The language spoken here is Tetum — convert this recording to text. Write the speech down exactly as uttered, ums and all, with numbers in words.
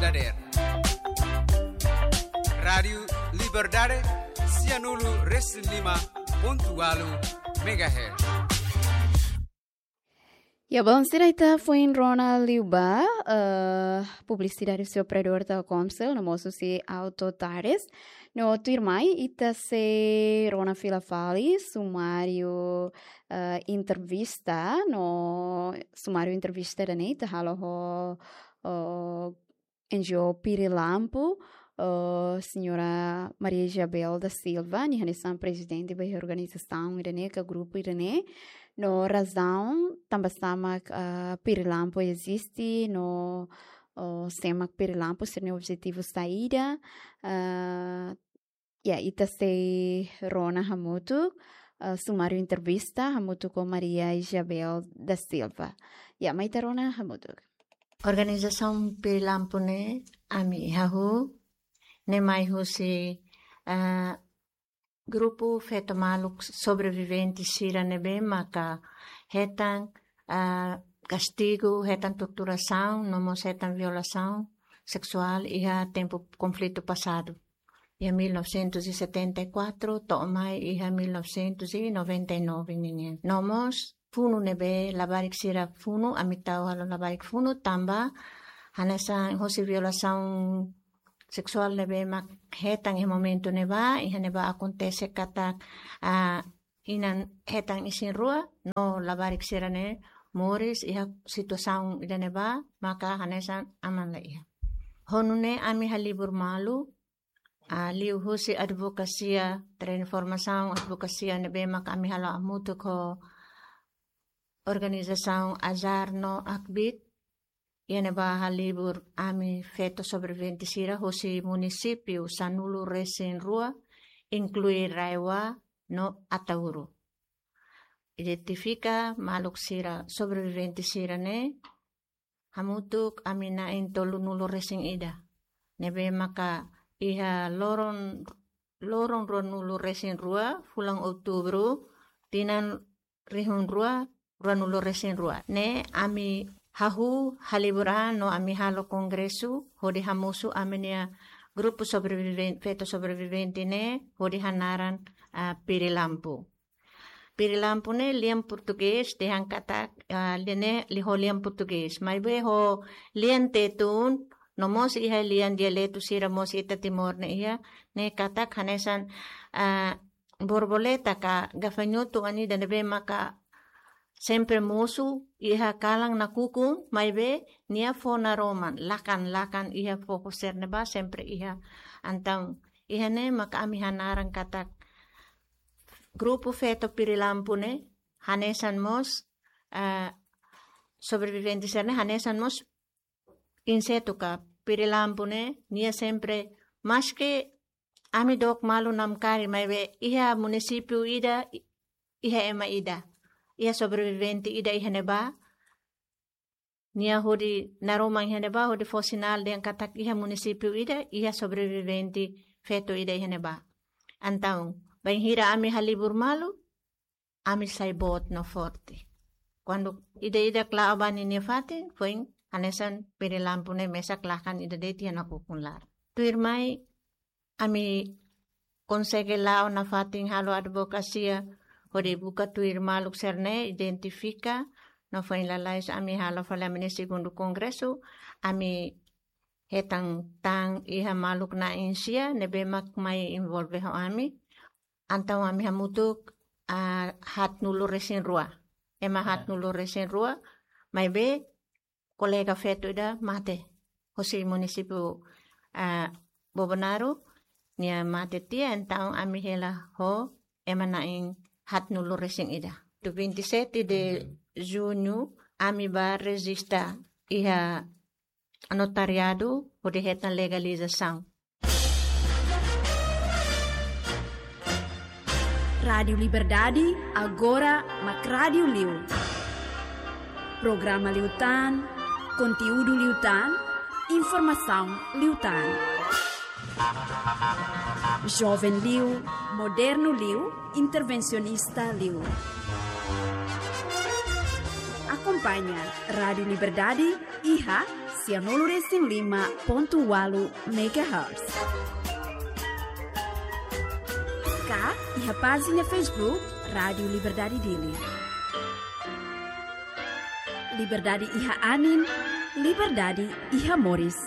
Dader. Rádiu Liberdade, sianulu resin lima pontu ualu megahertz. Ya, bom, sira ita foin rona liu ba, eh, publisidade husi operadór Telkomcel, no mós husi Auto Tares. No tuirmai, ita sei rona fila fali, sumáriu, eh, entrevista, no sumáriu entrevista ida-ne'e, ita halo ho, ho N G O Pirilampo, eh, señora Maria Isabel da Silva, nia hanesan prezidente ba organizasaun ida-ne'e, ka grupu ida-ne'e. No razaun tanba sá mak, eh, Pirilampo eziste, no, eh, sé mak Pirilampo, sira-nia objetivu saida, eh, ya, ita sei rona hamutuk, eh, sumáriu entrevista hamutuk ho Maria Isabel da Silva. Ya, mai ita rona hamutuk. Organizasaun Pirilampo ne'e, ami hahú, ne'e mai husi, eh, grupu feto maluk sobrevivente sira ne'ebé maka hetan, eh, kastigu, hetan torturasaun, no mós hetan violasaun seksuál iha tempu konflitu pasadu. Iha mil novecentos e setenta e quatro, to'o mai iha mil novecentos e noventa e nove ninian. No mós funu ne'ebé labarik sira funu, ami tau halo labarik funu, tanba hanesan husi violasaun seksuál ne'ebé mak hetan iha momentu ne'ebá, iha ne'ebá akontese katak, ah, inan hetan isin-rua, no labarik sira-ne'e moris iha situasaun ida-ne'ebá, maka hanesan aman la iha. Ho nune'e ami halibur malu, ah, liuhusi advokasia, transformasaun advokasia ne'ebé mak ami halo hamutuk ho organizasaun Azar no Akbit, iha ne'ebá halibur ami feto sobrevivente sira husi munisípiu sanulu resin rua, inklui RAEOA no Ataúro. Identifika maluk sira sobrevivente sira-ne'e, hamutuk ami na'in tolunulu resin ida. Ne'ebé maka iha loron, loron ruanulu resin rua, fulan Outubru, tinan rihun rua, ruanulu resin rua. Ne'e ami hahú halibur an no ami halo kongresu, hodi hamosu ami-nia grupu sobreviven-, feto sobrevivente ne'e, hodi hanaran, ah, Pirilampo. Pirilampo ne'e lian portugés, dehan katak, ah, lian ne'e liu ho lian portugés. Maibé ho lian Tetun, no mós iha lian dialetu sira mós ita Timor ne'e iha, ne'e katak hanesan, ah, borboleta ka gafanhotu nian ida ne'ebé maka sempre mosu iha kalan nakukun, maibé nia fó naroman, lakan-lakan iha foho sira ne'ebá sempre iha. Entaun iha ne'e maka ami hanaran katak grupu feto Pirilampo ne'e, hanesan mós, ah, sobrevivente sira-ne'e, hanesan mós insetu ka Pirilampo ne'e, nia sempre, maski ami dook malu namkari, maibé iha munisípiu ida, i-, iha ema ida, iha sobrevivente ida iha ne'ebá, nia hodi naroman iha ne'ebá, hodi fó sinál dehan katak iha munisípiu ida, iha sobrevivente feto ida iha ne'ebá. Entaun, bainhira ami halibur malu, ami sai boot no forte. Kuandu ida-idak la'o ba ninia fatin, foin hanesan Pirilampo ne'e mesak lakan ida de'it iha nakukun laran. Tuirmai, ami konsege la'o nafatin halo advokasia, hodi buka tuir maluk sira-ne'e, identifika, no foin lalais ami halo fali ami-nia segundu kongresu, ami hetan tan iha maluk na'in sia, ne'ebé mak mai envolve ho ami, entaun ami hamutuk, ah, haatnulu resin rua. Ema, ya, haatnulu resin rua, maibé kolega feto ida mate. Husi munisípiu, ah, Bobonaro, nia mate tiha, entaun ami hela ho ema na'in haatnulu resin ida. Tu vinte e sete de, mhm, junho, ami bá rejista iha notariadu, hodi hetan legalizasaun. Rádiu Liberdade, agora mak rádiu liu. Programa liután, konteúdu liután, informasaun liután. Joven liu, modernu liu, intervensionista liu. Akompaña Rádiu Liberdade iha Sianulu resin lima pontu walu megahertz. Ka iha pájina Facebook Rádio Liberdade Dili. Liberdade iha anin, liberdade iha moris.